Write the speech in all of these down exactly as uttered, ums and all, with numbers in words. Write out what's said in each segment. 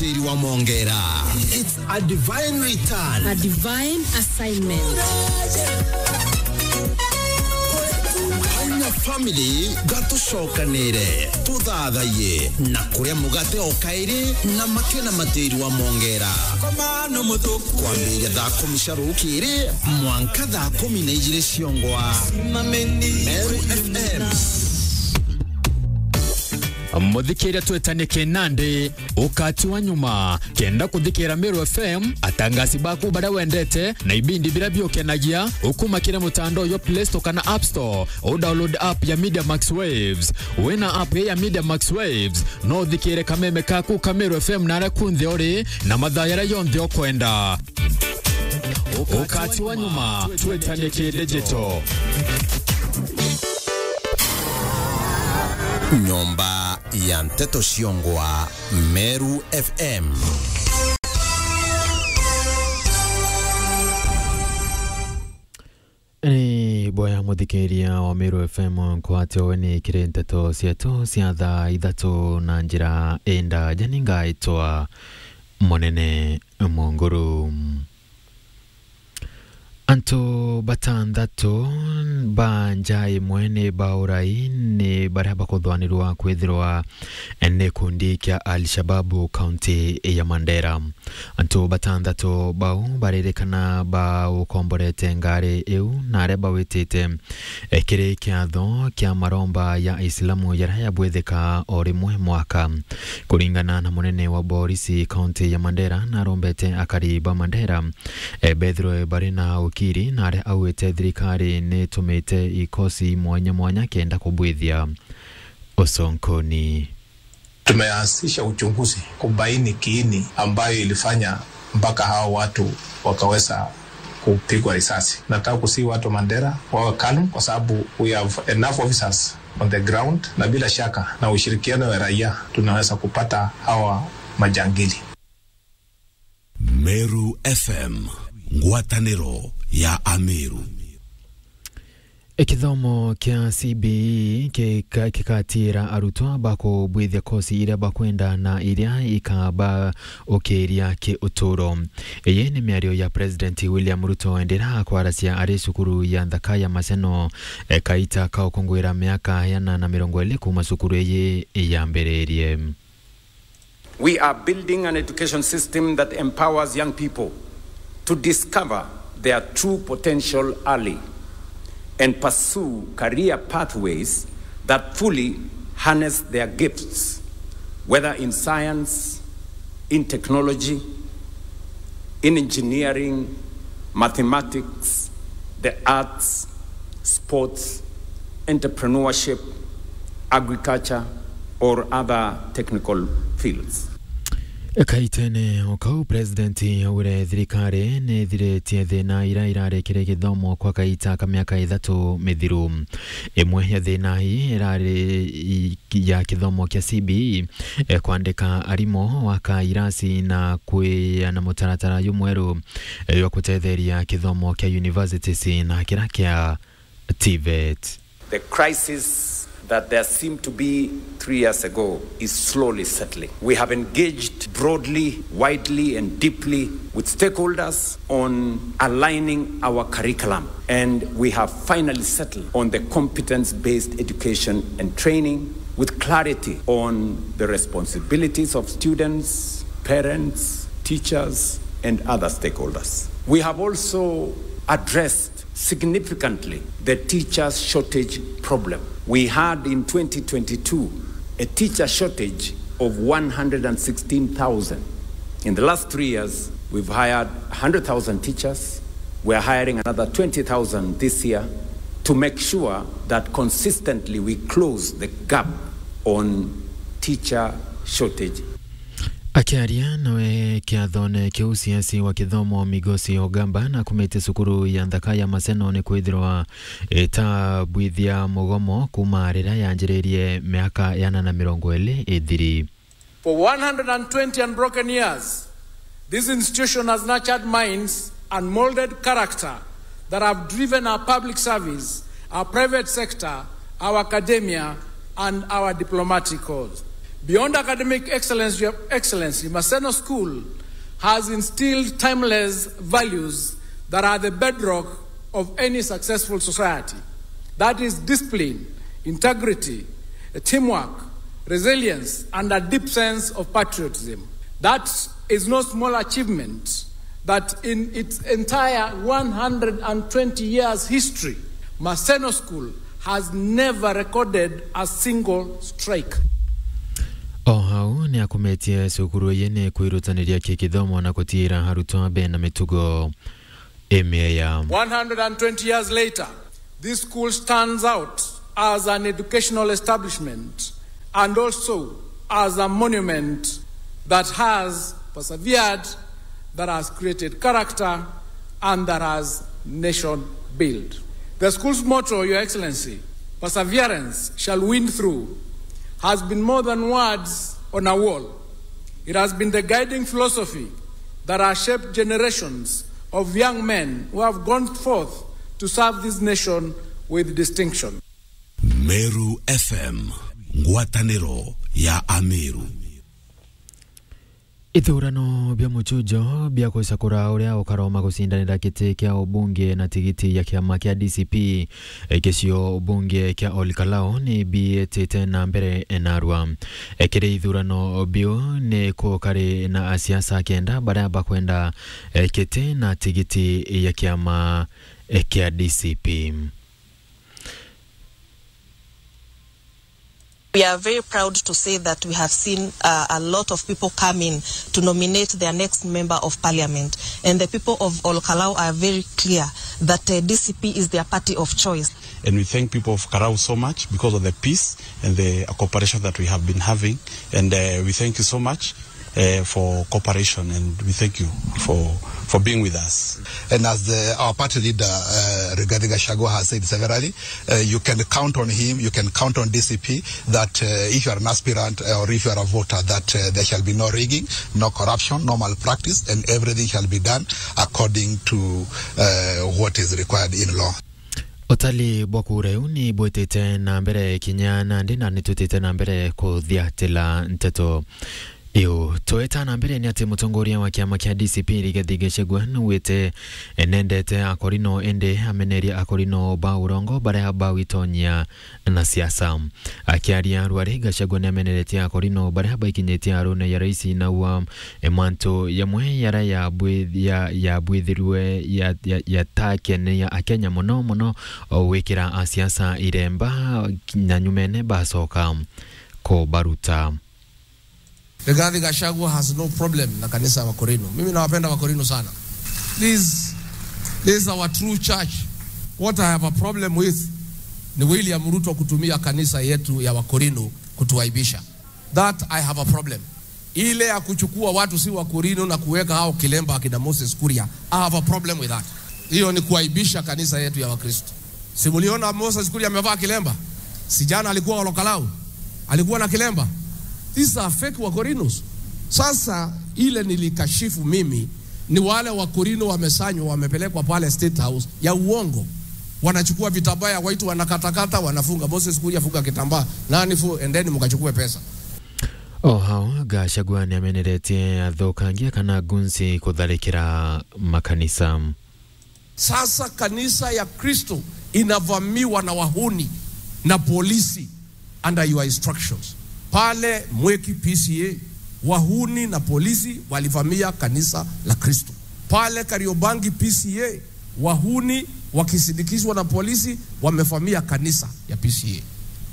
Tiri wa Mongera. It's a divine return. A divine assignment. Haina family, gatucokanire, tuthathaiye, na kuria mugate o kairi, na makena matiri wa Mongera. Kwambiria thaa kumi cia rukiri, mwanka thaa kumi na ijiri ciongwa. Meru F M. Muthikiria, twetanie kinandi, ukati wa nyuma. Kenda kuthikira Meru F M, atangasi baku baria wendete, na ibindi biria biukenagia, ukuma kiri mutandao jwa Play Store kana App Store, u download app ya Media Max Waves. Wina app ya Media Max Waves, no uthikire kameme kaku ka Meru F M naria kunthe uri, na mathaa jaria jonthe ukwenda. Ukati wa nyuma, twetanie ki digital. Nyomba ya nteto ciongwa, Meru F M. Ni boya muthikiria wa Meru F M nkwate we ni kiri nteto cietu cia thaa ithatu na njira indaja. Ni ngaitwa Munene Munguru. Antu batanthatu ba nja imwe ni baurai ni baria bakuthwanirwa kwithirwa ni gikundi kia Al-Shababu kaunti ya Mandera. Antu batanthatu bau baririkana baukomborete ngari iu na aria bawitite, eh, kiri kiatho kia maromba ya Islamu jaria jabwithika o rimwe mwaka. Kuringana na munene wa borisi kaunti ya Mandera, narombete akari ba Mandera, eh, bethirwe bari na ukiri, na aria augite thirikari nitumite ikosi mwanya mwanya kenda kubwithia uconkoni. Tumeanzisha uchunguzi kubaini kiini ambayo ilifanya mpaka hao watu wakaweza kupigwa risasi. Nataka kusihi watu wa Mandera wawe calm, kwa sababu we have enough officers on the ground, na bila shaka na ushirikiano wa raia tunaweza kupata hawa majangili. Meru F M, ngwataniro ya Ameru. Kithomo kia C B E kika-, kikatiira arutwa bakubwithia kosi iria bakwenda na iria ikaba ukiria ki uturo. Iyi ni miario ya President William Ruto ndira akwaracia ari cukuru ya nthaka ya Maseno, e, kaita ka ukungwira miaka yana na mirongo iri kuma cukuru iyi yambiririe. We are building an education system that empowers young people to discover their true potential early and pursue career pathways that fully harness their gifts, whether in science, in technology, in engineering, mathematics, the arts, sports, entrepreneurship, agriculture, or other technical fields. Kaitene o kau, President augire thirikari ni ithiritie thina iria irari kiri githomo kwa kaita ka miaka ithatu mithiru. Imwe ya thina ii irari i-, ya kithomo kia C B E, eh, kwandika arimu, gwaka irasi na kwiana mutaratara jumweru, eh, jwa gutetheria kithomo kia universities na kiria kia TVET. The crisis that there seemed to be three years ago is slowly settling. We have engaged broadly, widely, and deeply with stakeholders on aligning our curriculum, and we have finally settled on the competence-based education and training with clarity on the responsibilities of students, parents, teachers, and other stakeholders. We have also addressed significantly the teacher shortage problem. We had in twenty twenty-two a teacher shortage of one hundred and sixteen thousand. In the last three years, we've hired a hundred thousand teachers. We are hiring another twenty thousand this year to make sure that consistently we close the gap on teacher shortage. Akiaria nawe kiathone kiu, C S wa kithomo Migosi Ogamba nakumite cukuru ya nthaka ya Maseno ni kwithirwa itabwithia mugomo kuma riria yanjiririe miaka yana na mirongo iri ithiri. For one hundred and twenty unbroken years, this institution has nurtured minds and molded character that have driven our public service, our private sector, our academia, and our diplomatic corps. Beyond academic excellence, Your Excellency, Maseno School has instilled timeless values that are the bedrock of any successful society. That is discipline, integrity, teamwork, resilience, and a deep sense of patriotism. That is no small achievement that in its entire one hundred and twenty years history, Maseno School has never recorded a single strike. O hau ni akumetie cukuru iyi ni kwirutaniria kikithomo na kutiira arutwo bena mitugo imieya. One hundred and twenty years later, this school stands out as an educational establishment and also as a monument that has persevered, that has created character, and that has nation built. The school's motto, Your Excellency, "Perseverance shall win through," has been more than words on a wall. It has been the guiding philosophy that has shaped generations of young men who have gone forth to serve this nation with distinction. Meru F M, ngwataniro ya Ameru. Ithurano bia muchujo bia gucakura uria ukaroma gucindanira giti kia ubunge na tigiti ya kiama kia D C P, eh, gicio ubunge kia Ol Kalou ni biitite na mbere narua. Eh, kiri ithurano biu ni kukari na asiasa kenda baria bakwenda, eh, giti na tigiti ya kiama, eh, kia D C P. We are very proud to say that we have seen, uh, a lot of people come in to nominate their next member of parliament. And the people of Ol Kalou are very clear that, uh, D C P is their party of choice. And we thank people of Kalou so much because of the peace and the cooperation that we have been having. And, uh, we thank you so much, uh, for cooperation, and we thank you for, for being with us. And as the, our party leader, uh, Rigathi Gachagua has said severally, uh, you can count on him, you can count on D C P, that, uh, if you are an aspirant, uh, or if you are a voter, that, uh, there shall be no rigging, no corruption, no malpractice, and everything shall be done according to, uh, what is required in law. Utali bwa kura iu ni bwitite na mbere kinya nandi, na ni twitite na mbere kuthiatila nteto iu. Tweta na mbere ni ati mutongoria wa kiama kia D C P Rigathi Gachagua nugwite nendete akorino, indi ameneria akorino ba urongo baria bawitonyia na siasa. Akiaria rwari, Gachagua ni ameneretie akorino baria baikinyitie arune ya rais na ua, e, mantu yamwe yaria yabwi-, ya-, yabwithirwe ya-, ya-, yatakenia Akenya mono mono, o gwikira asiasa iremba na nyumene bacoka kubaruta. Rigathi Gachagua has no problem na kanisa ya Wakorino. Mimi nawapenda Wakorino sana. This, this is our true church. What I have a problem with ni William Ruto kutumia kanisa yetu ya Wakorino kutuaibisha. That I have a problem. Ile ya kuchukua watu si Wakorino na kuweka hao kilemba akina Moses Kuria, I have a problem with that. Hiyo ni kuaibisha kanisa yetu ya Wakristo. Si muliona Moses Kuria amevaa kilemba? Si jana alikuwa Ol Kalou? Alikuwa na kilemba? These are fake Wakorinos. Sasa ile nilikashifu mimi ni wale Wakorino wamesanywa, wamepelekwa pale State House ya uongo. Wanachukua vitambaa ya white, wanakatakata, wanafunga. Moses Kuria, funga kitambaa. Nani fu-, endeni mkachukue pesa. O hau, Gachagua ni ameneretie athukangia kana gunsi kutharikira makanisa. Sasa kanisa ya Kristo inavamiwa na wahuni na polisi under your instructions. Pale Mweki P C A, wahuni na polisi walivamia kanisa la Kristo. Pale Kariobangi P C A, wahuni wakisindikizwa na polisi wamevamia kanisa ya P C A.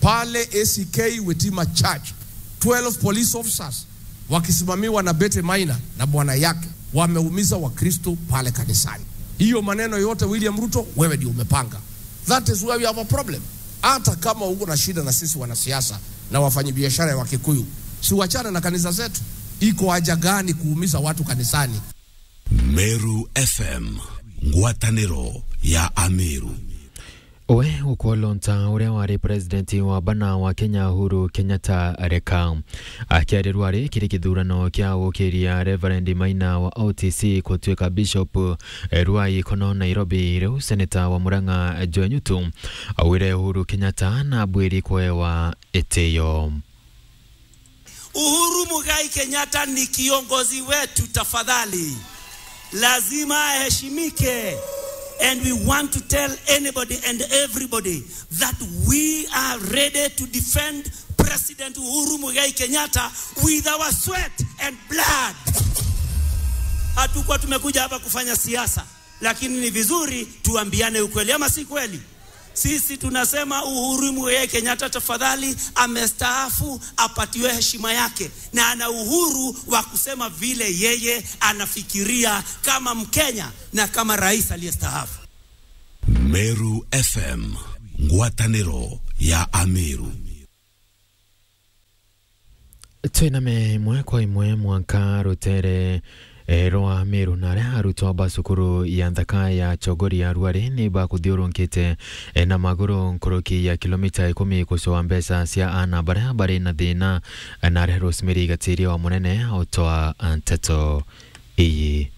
Pale A C K Witima Church, twelve police officers wakisimamiwa na Betty Maina na bwana yake, wameumiza Wakristo pale kanisani. Hiyo maneno yote, William Ruto, wewe ndio umepanga. That is where we have a problem. Hata kama uko na shida na sisi wanasiasa na wafanyabiashara ya Wakikuyu, si wachane na kanisa zetu. Iko haja gani kuumiza watu kanisani? Meru F M, ngwataniro ya Ameru. We ukwolonta uria wari president wa bana wa Kenya Uhuru Kenyatta areka. Akiarirwa ari kiri kithurano kia gukiria Reverend Maina wa O T C kutuika bishop, eh, rwa Ikono Nairobi, riu seneta wa Murang'a Joe Nyutu augire Uhuru Kenyatta na bwiri kwewa itiyo. Uhuru Muigai Kenyatta ni kiongozi wetu, tafadhali. Lazima aheshimike. And we want to tell anybody and everybody that we are ready to defend President Uhuru Muigai Kenyatta with our sweat and blood. Hatukuwa tumekuja hapa kufanya siasa, lakini ni vizuri tuambiane ukweli, ama si kweli? Sisi tunasema Uhuru Muigai Kenyatta, tafadhali, amestaafu, apatiwe heshima yake, na ana uhuru wa kusema vile yeye anafikiria kama Mkenya na kama rais aliyestaafu. Meru F M, ngwatanĩro ya Ameru. Twiname imwe kwa imwe mwanka rutere, eh, rwa Meru, na aria arutwa ba cukuru ya nthaka ya Chogoria Ruari ni bakuthiurunkite, eh, na maguru nkuruki ya kilomita ikumi kucua mbeca cia ana baria bari na thina, eh, na aria Rosemary Gatiria wa Munene utwa nteto iyi.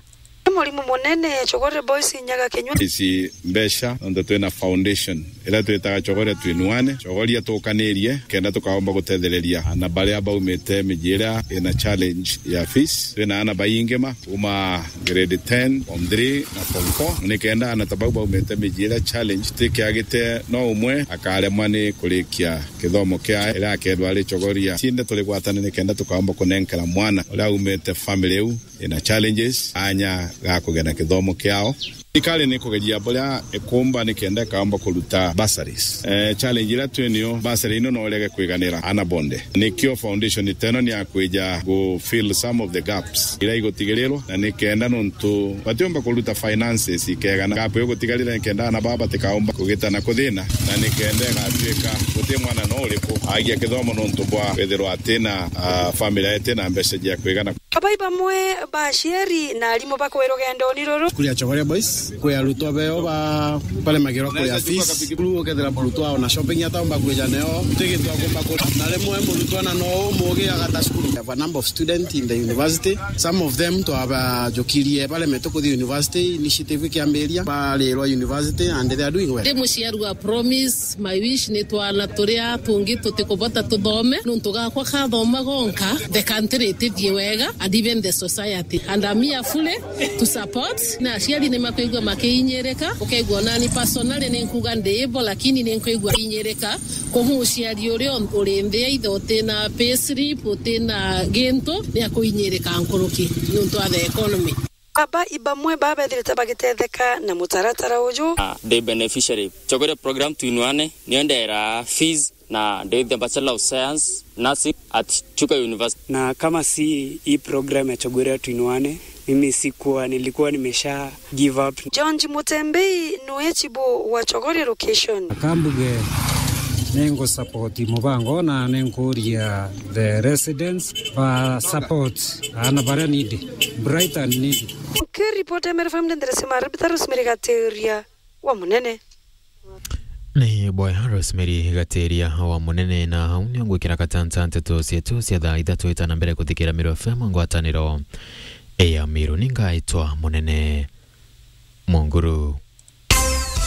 Ni murimu munene, Chogoria Boys inyaga kinywa. Ici mbeca, nontu twina foundation iria twitaga Chogoria Twinuane, Chogoria Tukanirie, kenda tukaomba gutethereria ana baria baumite miji iria ina challenge ya fees. Twina ana baingi ma kuma grade ten, form three na form four, ni kenda ana ta bau baumite miji iria challenge tikiagite, no umwe akaremwa ni kurikia kithomo kia iria akerwa ari Chogoria. Cinde turi gwatane ni kenda tukaomba kunenkera mwana uria aumite family iu ina challenges, anya ga kugena kithomo kiao. Thirikari ni kugeria buria ikumba ni kenda ikaomba kuruta bursaries. Eh, challenge iria twi nio, bursary ino no irege kwiganira ana bonde. Nikio foundation iteno ni ya kwija gu fill some of the gaps iria igutigirirwa, na ni kenda nontu batiumba kuruta finances ikegana, gap igutigarira ni kenda ana baba batikaumba kugitana kuthina, na ni kenda igatuika guti mwana no uriku agia kithomo nontu bwa kwithirwa atina, ah, family itina mbeca cia kwigana. Abai bamwe ba aciari na arimu bakwi rugendoni ruru. Cukuru ya Chogoria Boys, kwi arutwa beo ba, baremagirwa kuria fees. Cukuru ukethira murutwa ona shopping ataumba kwija neo, tigitwa kumba ku-, na rimwe murutwa na no umugi agata cukuru. We have a number of students in the university. Some of them twabajukirie baremetwe kuthi university, initiative ikiambiria, barirwa university and they are doing well. Ndi muciari wa Promise. My wish ni twana turia tungi tutikubota tuthome, nontu gakwa kathoma gonka, the country itithie wega, and even the society. And I'm here fully to support. Na aciari ni makwigua makiinyirika, ukaigua nani personally ni nkuga ndi ibo, lakini ni nkwigua inyirika. Kuhu uciari uria uri nthi either utina payslip, utina gintu, ni akuinyirika nkuruki nontu wa the economy. Aba ibamwe babethirite bagitetheka na mutaratara uju. Ah, ndi beneficiary. Chogoria program Twinuane, nio ndera fees na ndi the Bachelor of Science, Nursing at Chuka University. Na kama si hii program ya Chogoria Twinuane, mimi sikuwa, nilikuwa nimesha give up. George Mutembei niwe chibu wa Chogoria location. Akambuge, ningu support mubango na ninkuria the residents ba support ana baria needy, bright and needy. Nkiripota Meru F M, ndendere sima Rebecca Rosemary Gateria wa Munene. Ni boya Rosemary Gateria wa Munene, na hau nio ngwikira katanta nteto cietu cia thaa ithatu itana mbere kuthikira Meru F M ngwataniro ya Meru. Ningaitwa Munene Munguru.